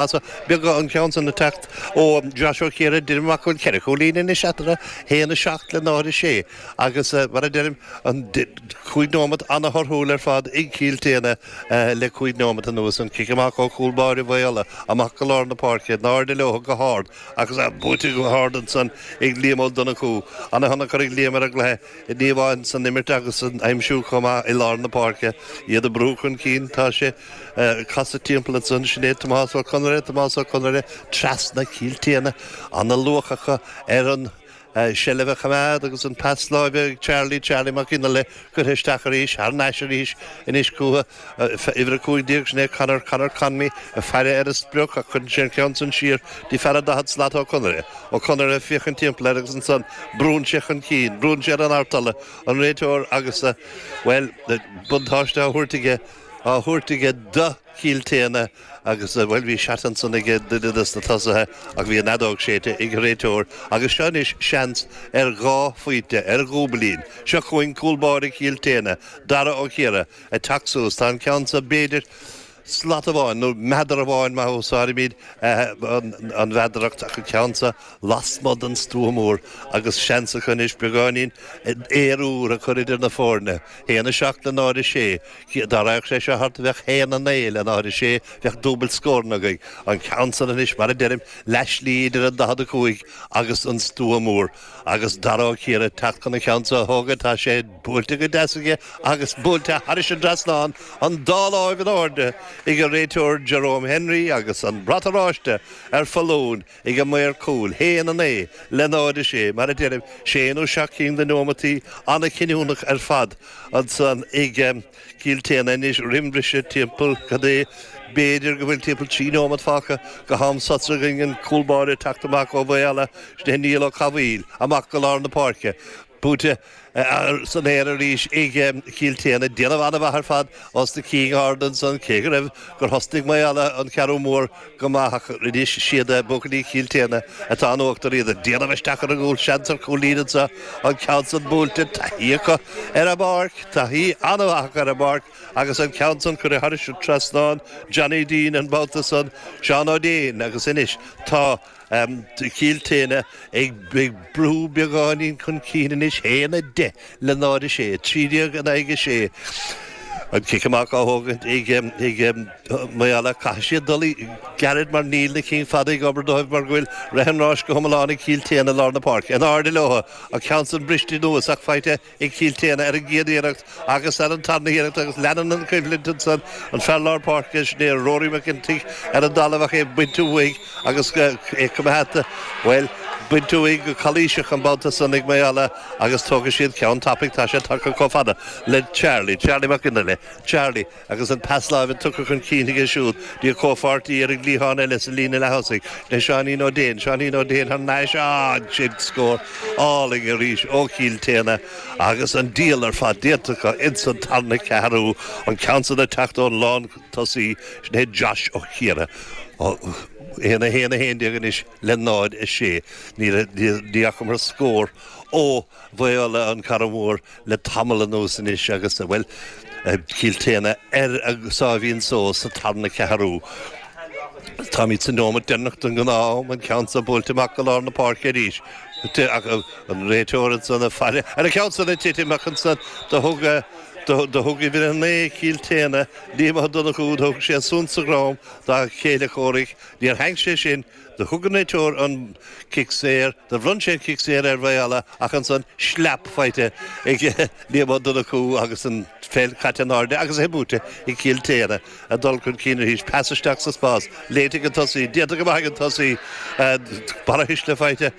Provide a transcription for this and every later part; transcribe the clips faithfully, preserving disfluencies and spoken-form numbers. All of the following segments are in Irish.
Beaga an ceann san ag teacht ó Josh Ó Ciara deirim amach go bhfuil ceithre chúilín anois eatarthu, haon a seacht le náid a sé agus mar a deirim an cúig nóiméad ana-thorthúil ar fad ag Cill Téana le cúig nóiméad anuas. An cic amach ó chúl báire Mhaigh Uladh amach go lár na páirce, in airde leo go hard agus buaite go hard ansan ag Liam Ó Donnchú. Ana-thionchar ag Liam ar an gcluiche ní amháin san imirt agus san aimsiú chomh maith i lár na páirce. Iad ag brú chun cinn, tá sé casadh timpeall ansan, sin é Tomás Ó Conaire, Tomás Ó Conaire trasna Cill Téana, ana-luach acu ar an seilbh a choimeád agus an pas láimhe ag Charlie, Charlie Mac Fhionnaile curtha isteach arís, thar n-ais arís anois chucu, uimhir a cúig déag, sin é Conor, Conor Conmee, ag faire ar a sprioc ach cuireann sé an ceann san siar dtí fear an daichead slat Ó Conaire. Ó Conaire ag féachaint timpeall air agus ansan brúnn sé chun cinn, brúnn sé ar an artola, an réiteoir agus, bhuel, buntáiste á thabhairt aige, á thabhairt aige do Chill Téana agus, bhuel, bhí seat ansan aige duine des na tosaithe ach bhí an fheadóg séidte ag an réiteoir agus seo anois seans ar dhá phointe, ar dhúbailín. Seo chugainn cúl báire Chill Téana, Dara Ó Ciara, ag teacht suas. Tá an ceann seo b'fhéidir slat amháin nó meadar amháin má úsáidimid an mheadaracht ach an ceann seo lasmuigh den stua mór agus seans acu anois beagáinín aer úr a chur idir na foirne. Haon a seacht le náid a sé. Dá raghadh sé seo thart bheadh haon a naoi le náid a sé, bheadh dúbailt scóranna againn. An ceann san anois, mar a deirim, leathshlí idir an daichead a cúig agus an stua mór. Agus Dara Ó Ciara ag teacht chun an ceann seo a thógaint, tá sé buailte go deas aige agus buailte thairis an dtrasnán, an dá láimh in airde ag an réiteoir Jerome Henry agus an brat oráiste ar foluain ag an maor cúil, haon a naoi le náid a sé, mar a deirim, sé nó seacht cinn de neomataí an-chinniúnach ar fad ansan ag Cill Téana anois roim bhriseadh timpeall cad é b'fhéidir go bhfuil timpeall trí neomat fágtha go ham sosa againn an cúl báire ag teacht amach ó Mhaigh Eala, sin é Niall Ó Cathmhaoil, amach go lár na páirce. Buaite san aer arís ag Cill Téana. Déanamh an-mhaith ar fad os na cinn ard ansan, cé go raibh gur thosnaigh Maigh Eala an ceathrú mór go maith ach anois siad buachaillí Chill Téana atá in uachtar iad ag déanamh isteach ar an gcúl. Seans ar chúilín anseo, an ceann san buailte, taithí acu ar an bpáirc, taithí an-mhaith acu ar an bpáirc agus an ceann san curtha thairis an trasnán, Johnny Deane an babhta san, Seán Ó Déin agus anois tá Cill Téana ag brú beagáinín chun cinn anois, haon a deich le náid a sé, trí déag in aghaidh a sé. An cic amach á thógaint ag Maigh Eala. Caithfidh siad dul gairid mar níl na cinn fada ag obair dóibh mar go bhfuil rith an ráis go hiomlán ag Cill Téana i lár na páirce. In airde leo, an ceann san briste anuas ach faighte ag Cill Téana ar an gcéad iarracht agus ar an tarna hiarracht agus leanann an choimhlint ansan an fear lár páirce, sin é Rory McEntee ar an dtalamh ach é bainte uaidh agus é coimeádta, bhuel, bainte uaidh go calaoiseach an babhta san ag Maigh Eala agus tógfaidh siad ceann tapaidh, tá sé tagtha chomh fada le Charlie, Charlie Mac Fhionnaile, Charlie agus an pas láimhe tugtha chun cinn aige siúd dtí a chomhpháirtí ar an gcliathán eile sa líne leath-thosaigh le Seáinín Ó Déin, Seáinín Ó Déin thar n-ais, ah, sin scór álainn arís ó Chill Téana agus an díol ar fad déanta acu ins an tarna ceathrú, an ceann san ag teacht ón lán-tosaí, sin é Josh Ó Ciara. Aon a haon a haon déag anois le náid a sé. Ní fhacamar scór ó Mhaigh Uladh, an Carraig Mhór le tamall anuas anois agus, bhuel, Cill Téana ar a sáimhín só sa tarna ceathrú. Táimid sa nóimeat deireanach den ghnáth-am, an ceann seo buailte amach go lár na páirce arís. Ach an réiteoir ansan ag faire ar an cheann san ag titim ach ansan do thug do thug uimhir a naoi Cill Téana, Liam Ó Donnchú, do thug sé suan sa dhrom dá chéile comhraic. Níor thaitn sé sin. Do thug an réiteoir an cic saor, do bhronn sé an cic saor ar Mhaigh Eala ach ansan sleap faighte ag Liam Ó Donnchú agus an pheil caite in airde agus é buaite ag Cill Téana. Ag dul chun cinn arís, pas isteach sa spás, léite ag an tosaí, déanta go maith ag an tosaí, barrathuisle faighte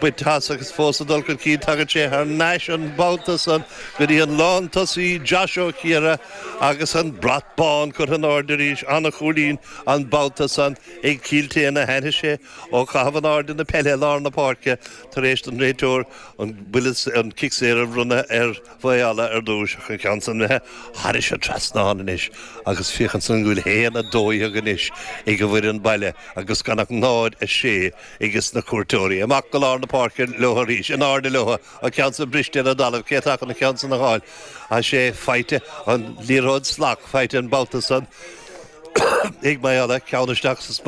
bainte as agus fós ag dul chun cinn, tagann sé thar n-ais an babhta san go dtí an lántosaí Josh Ó Ciara agus an brat bán curtha in airde arís, an-chúilín an babhta san ag Cill Téana, tháinig sé ó chaitheamh in airde na peile i lár na páirce tar éis don réiteoir an buille, an cic saor a bhronnadh ar Mhaigh Eala ar dtús ach an ceann san imithe thairis an trasnán anois agus féach ansan go bhfuil haon a dó dhéag anois ag an bhfoireann baile agus gan ach náid a sé ages na cuairteoirí. Amach go lár na páirce leo arís, in airde leo, an ceann san briste ar an dtalamh, cé atá chun an ceann san a fháil? Tá sé faighte, an liathróid salach faighte an babhta san. Ag Maigh Eo ceann isteach sa spás.